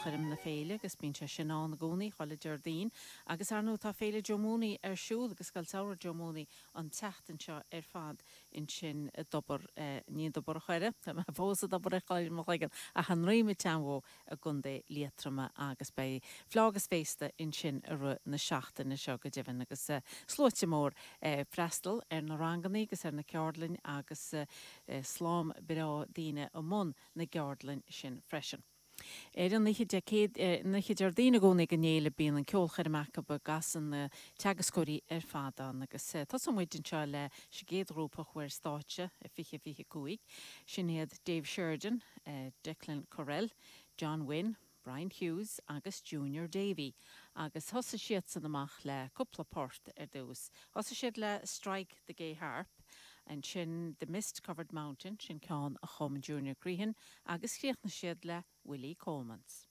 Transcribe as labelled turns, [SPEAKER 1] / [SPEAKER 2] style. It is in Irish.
[SPEAKER 1] ceolchoirm na féile agus bíonn sé sin ann i gcónaí chuile Déardaoin agus ar ndóigh tá Féile Joe Mooney ar siúl agus Scoil Samhraidh Joe Mooney an tseachtain seo ar fad ansin i dTobar, ní i dTobar a' Choire, tá mé fós i dTobar a' Choire i mo chloigeann, ach i nDroim an tSeanbhó i gContae Liatroma agus beidh fleá agus féasta ansin i rith na seachtaine seo go deimhin agus sluaite mór ag freastal ar na rangannaí agus ar na ceardlainn agus slám breá daoine i mbun na gceardlann sin freisin. Ar an oíche Dé Céad, an oíche Déardaoin i gcónaí den fhéile bíonn an ceolchoirm acu a gcasann na teagascóirí ar fad ann agus tosóidh muid anseo leis an gcéad ghrúpa a chuaigh ar stáitse i 2025, sin iad Dave Sheridan, Declan Correll, John Wynne, Brian Hughes agus Junior Davey agus thosaigh siadsan amach le cúpla port ar dtús. Thosaigh siad le Strike the Gay Harp, ansin The Mist Covered Mountain, sin ceann a chum Junior Crehan, agus chríochnaigh siad le Willie Coleman's.